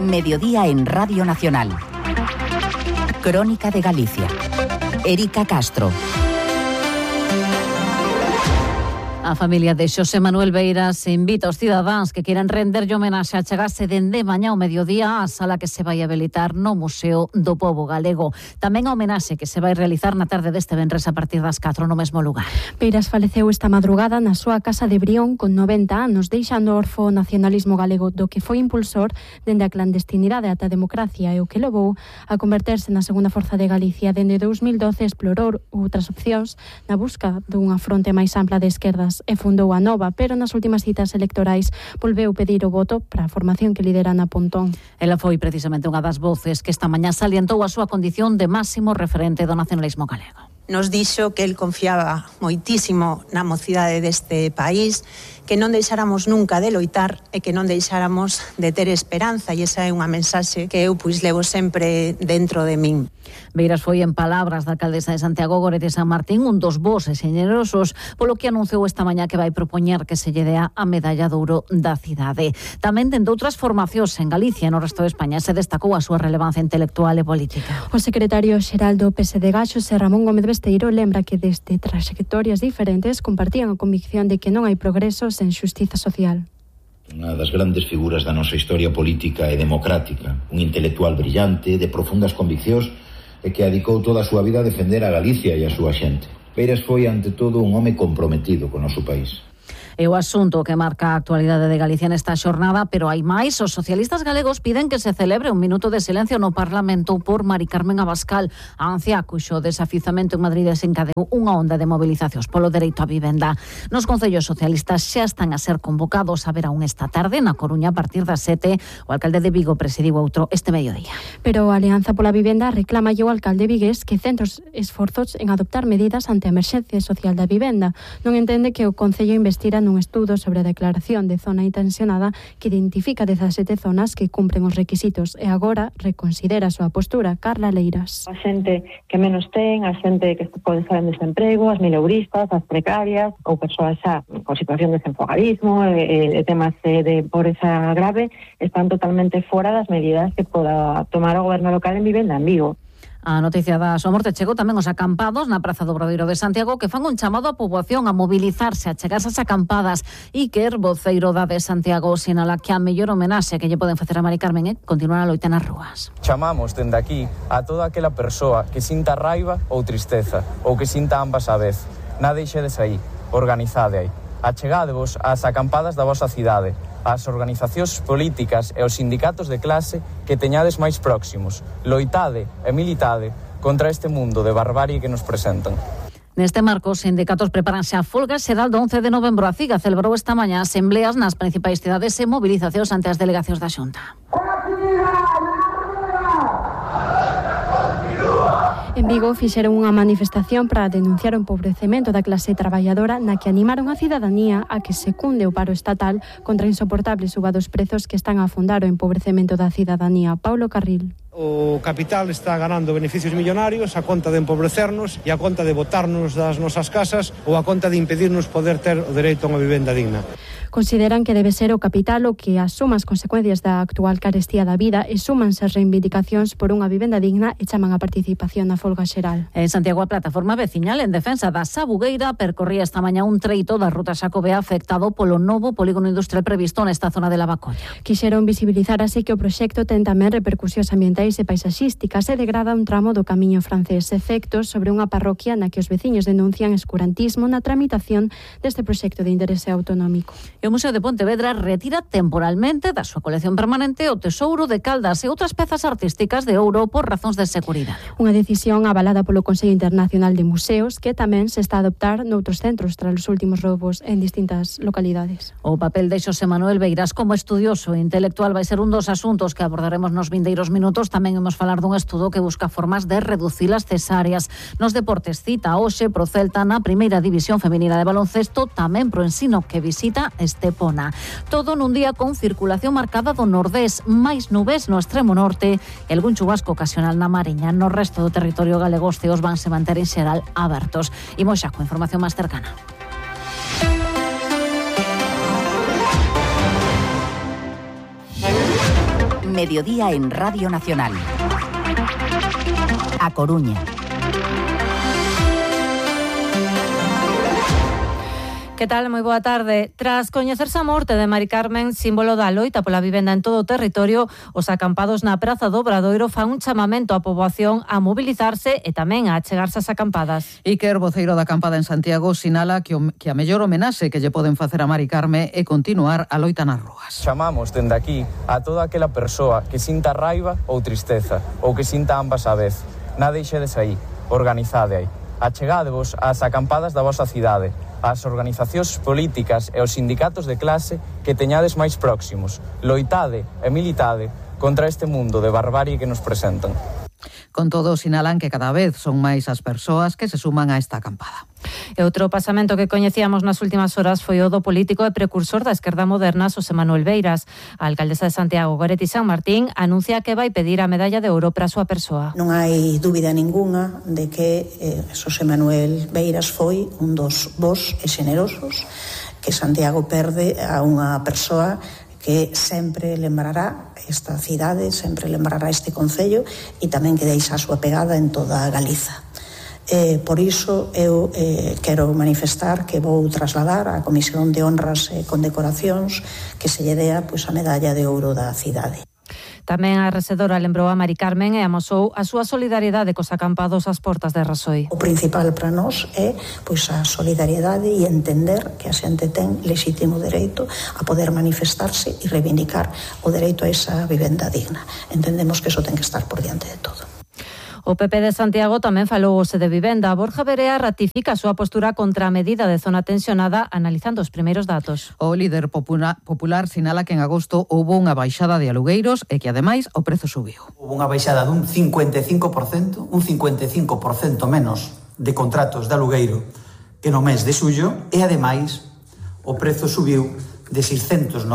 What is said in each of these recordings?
Mediodía en Radio Nacional. Crónica de Galicia. Erika Castro. A familia de Xosé Manuel Beiras invita aos cidadáns que queiran renderlle homenaxe a chegarse dende mañá ao mediodía á sala que se vai habilitar no Museo do Pobo Galego. Tamén a homenaxe que se vai realizar na tarde deste venres a partir das 4 no mesmo lugar. Beiras faleceu esta madrugada na súa casa de Brión con 90 anos, deixando orfo o nacionalismo galego, do que foi impulsor dende a clandestinidade ata a democracia e o que levou a converterse na segunda forza de Galicia. Dende 2012 explorou outras opcións na busca dunha fronte máis ampla de esquerdas e fundou a Nova, pero nas últimas citas electorais volveu pedir o voto para a formación que lidera Ana Pontón. Ela foi precisamente unha das voces que esta mañá salientou a súa condición de máximo referente do nacionalismo galego. Nos dixo que el confiaba moitísimo na mocidade deste país, que non deixáramos nunca de loitar e que non deixáramos de ter esperanza, e esa é unha mensaxe que eu levo sempre dentro de min. Beiras foi en palabras da alcaldesa de Santiago Gorete San Martín un dos bos e xenerosos, polo que anunciou esta mañá que vai propoñer que se lle dea a medalla de ouro da cidade. Tamén dende outras formacións en Galicia e no resto de España se destacou a súa relevancia intelectual e política. O secretario xeral do PSD Xosé Ramón Gómez Besteiro lembra que desde trayectorias diferentes compartían a convicción de que non hai progreso sen xustiza social. Unha das grandes figuras da nosa historia política e democrática, un intelectual brillante, de profundas conviccións e que dedicou toda a súa vida a defender a Galicia e a súa xente. Beiras foi, ante todo, un home comprometido co noso país. É o asunto que marca a actualidade de Galicia nesta xornada, pero hai máis. Os socialistas galegos piden que se celebre un minuto de silencio no Parlamento por Mari Carmen Abascal, a anciá cuxo desafizamento en Madrid desencadeou unha onda de movilizacións polo dereito á vivenda. Nos concellos socialistas xa están a ser convocados a ver aún esta tarde na Coruña a partir das 7. O alcalde de Vigo presidiu outro este mediodía. Pero a Alianza pola Vivenda reclama ao alcalde vigués que centros esforzos en adoptar medidas ante a emerxencia social da vivenda. Non entende que o Concello investira nun estudo sobre a declaración de zona intencionada que identifica 17 zonas que cumpren os requisitos e agora reconsidera a súa postura. Carla Leiras. A xente que menos ten, a xente que pode estar en desemprego, as mileuristas, as precarias ou persoas xa con situación de desenfogarismo e temas de pobreza grave están totalmente fora das medidas que poda tomar o goberno local en vivenda en Vigo. A noticia da súa morte chegou tamén os acampados na Praza do Obradoiro de Santiago, que fan un chamado á poboación a mobilizarse, a chegarse ás acampadas. Iker, voceiro da de Santiago, sinala que a mellor homenaxe que lle poden facer a Mari Carmen é continuar a loita nas rúas. Chamamos dende aquí a toda aquela persoa que sinta raiva ou tristeza, ou que sinta ambas a vez. Nada deixedes aí, organizade aí. Achegádevos ás acampadas da vosa cidade, ás organizacións políticas e aos sindicatos de clase que teñades máis próximos. Loitade e militade contra este mundo de barbarie que nos presentan. Neste marco, os sindicatos prepáranse a folga xeral do 11 de novembro. A CIGA celebrou esta mañá asembleas nas principais cidades e movilizacións ante as delegacións da Xunta. En Vigo fixeron unha manifestación para denunciar o empobrecemento da clase traballadora, na que animaron a cidadanía a que secunde o paro estatal contra a insoportable suba dos prezos que están a afondar o empobrecemento da cidadanía. Paulo Carril. O capital está ganando beneficios millonarios a conta de empobrecernos e a conta de botarnos das nosas casas ou a conta de impedirnos poder ter o dereito a unha vivenda digna. Consideran que debe ser o capital o que asuma as consecuencias da actual carestía da vida e súmanse as reivindicacións por unha vivenda digna e chaman a participación na folga xeral. En Santiago, a plataforma veciñal en defensa da Sabugueira percorría esta mañá un treito da ruta Xacobea afectado polo novo polígono industrial previsto nesta zona de Lavacolla. Quixeron visibilizar así que o proxecto ten tamén repercusións ambientais e paisaxísticas e degrada un tramo do camiño francés, efectos sobre unha parroquia na que os veciños denuncian escurantismo na tramitación deste proxecto de interese autonómico. E o Museo de Pontevedra retira temporalmente da súa colección permanente o tesouro de Caldas e outras pezas artísticas de ouro por razóns de seguridade. Unha decisión avalada polo Consello Internacional de Museos que tamén se está a adoptar noutros centros tras os últimos roubos en distintas localidades. O papel de Xosé Manuel Beiras como estudioso e intelectual vai ser un dos asuntos que abordaremos nos vindeiros minutos. Tamén imos falar dun estudo que busca formas de reducir as cesáreas. Nos deportes cita hoxe pro Celta na primeira división feminina de baloncesto, tamén pro Ensino que visita Estepona. Todo nun día con circulación marcada do nordés, máis nubes no extremo norte e algún chubasco ocasional na Mariña. No resto do territorio galego os ceos vanse manter en xeral abertos. Imos xa con información máis cercana. Mediodía en Radio Nacional. A Coruña. Que tal? Moi boa tarde. Tras coñecerse a morte de Mari Carmen, símbolo da loita pola vivenda en todo o territorio, os acampados na Praza do Obradoiro fan un chamamento á poboación a mobilizarse e tamén a achegarse ás acampadas. Iker, voceiro da acampada en Santiago, sinala que a mellor homenaxe que lle poden facer a Mari Carmen é continuar a loita nas rúas. Chamamos dende aquí a toda aquela persoa que sinta raiva ou tristeza, ou que sinta ambas á vez. Na deixedes aí, organizade aí. Achegádevos ás acampadas da vosa cidade, ás organizacións políticas e aos sindicatos de clase que teñades máis próximos. Loitade e militade contra este mundo de barbarie que nos presentan. Con todo, sinalan que cada vez son máis as persoas que se suman a esta acampada. E outro pasamento que coñecíamos nas últimas horas foi o do político e precursor da esquerda moderna, Xosé Manuel Beiras. A alcaldesa de Santiago, Goretti San Martín, anuncia que vai pedir a medalla de ouro para a súa persoa. Non hai dúbida ningunha de que Xosé Manuel Beiras foi un dos bos e xenerosos que Santiago perde a unha persoa que sempre lembrará esta cidade, sempre lembrará este concello e tamén que deixa a súa pegada en toda Galiza. Por iso eu quero manifestar que vou trasladar á Comisión de Honras e Condecoracións que se lle dea a medalla de ouro da cidade. Tamén a resedora lembrou a Mari Carmen e amosou a súa solidariedade cos acampados ás portas de Rasoi. O principal para nós é a solidariedade e entender que a xente ten lexítimo dereito a poder manifestarse e reivindicar o dereito a esa vivenda digna. Entendemos que eso ten que estar por diante de todo. O PP de Santiago tamén falou hoxe de vivenda. Borja Verea ratifica a súa postura contra a medida de zona tensionada analizando os primeiros datos. O líder popular sinala que en agosto houbo unha baixada de alugueiros e que ademais o prezo subiu. Houbo unha baixada dun 55%, un 55% menos de contratos de alugueiro que no mes de xullo e ademais o prezo subiu de 696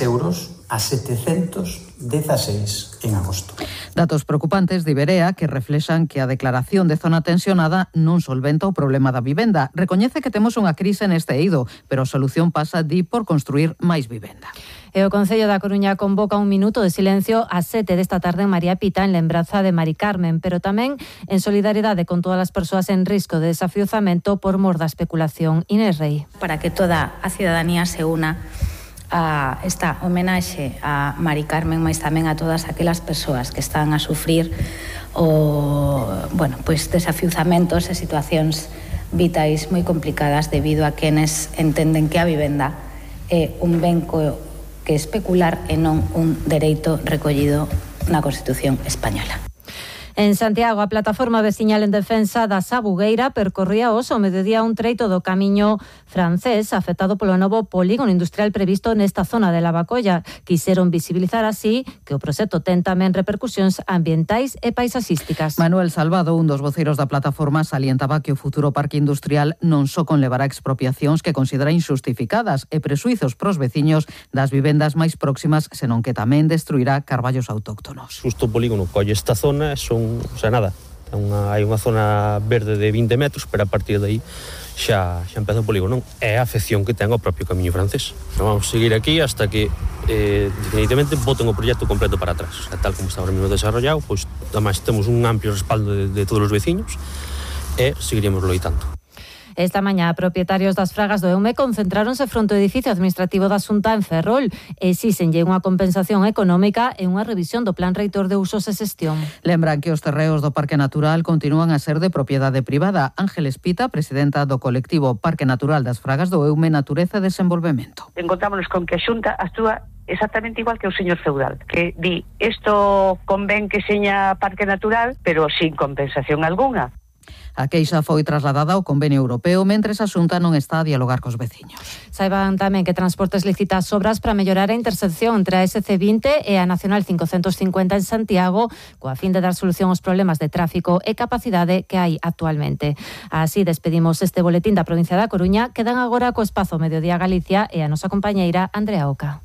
euros a 716 en agosto. Datos preocupantes de Iberea que reflexan que a declaración de zona tensionada non solventa o problema da vivenda. Recoñece que temos unha crise neste eido, pero a solución pasa, por construir máis vivenda. E o Concello da Coruña convoca un minuto de silencio ás 7 desta tarde en María Pita en lembranza de Mari Carmen, pero tamén en solidariedade con todas as persoas en risco de desafiuzamento por mor da especulación. Inés Rei. Para que toda a cidadanía se una a esta homenaxe a Mari Carmen, mas tamén a todas aquelas persoas que están a sufrir desafiuzamentos e situacións vitais moi complicadas debido a quenes entenden que a vivenda é un ben que especular e non un dereito recollido na Constitución española. En Santiago, a plataforma veciñal en defensa da Sabugueira percorría hoxe ao mediodía un treito do camiño francés afectado polo novo polígono industrial previsto nesta zona de Lavacolla. Quixeron visibilizar así que o proxecto ten tamén repercusións ambientais e paisaxísticas. Manuel Salvado, un dos voceiros da plataforma, salientaba que o futuro parque industrial non só conlevará expropiacións que considera injustificadas e presuizos pros veciños das vivendas máis próximas, senón que tamén destruirá carballos autóctonos. Justo o polígono colle esta zona, hai unha zona verde de 20 metros, pero a partir de aí xa empeza o polígono. É a afección que ten o propio camiño francés. Vamos seguir aquí hasta que definitivamente boten o proxecto completo para atrás. O sea, tal como está ahora mesmo desarrollado, pois ademais temos un amplio respaldo de todos os veciños e seguiremos loitando. Esta mañá, propietarios das fragas do Eume concentráronse fronte ao edificio administrativo da Xunta en Ferrol e exíxenlle unha compensación económica e unha revisión do plan reitor de usos e xestión. Lembran que os terreos do Parque Natural continúan a ser de propiedade privada. Ángeles Pita, presidenta do colectivo Parque Natural das Fragas do Eume, Natureza e Desenvolvemento. Encontrámonos con que a Xunta actúa exactamente igual que o señor feudal, que di, isto convén que seña Parque Natural, pero sin compensación algunha. A queixa foi trasladada ao convenio europeo mentres a Xunta non está a dialogar cos veciños. Saiban tamén que Transportes licita as obras para mellorar a intersección entre a SC20 e a Nacional 550 en Santiago, coa fin de dar solución aos problemas de tráfico e capacidade que hai actualmente. Así despedimos este boletín da provincia da Coruña. Quedan agora co espazo Mediodía Galicia e a nosa compañeira Andrea Oca.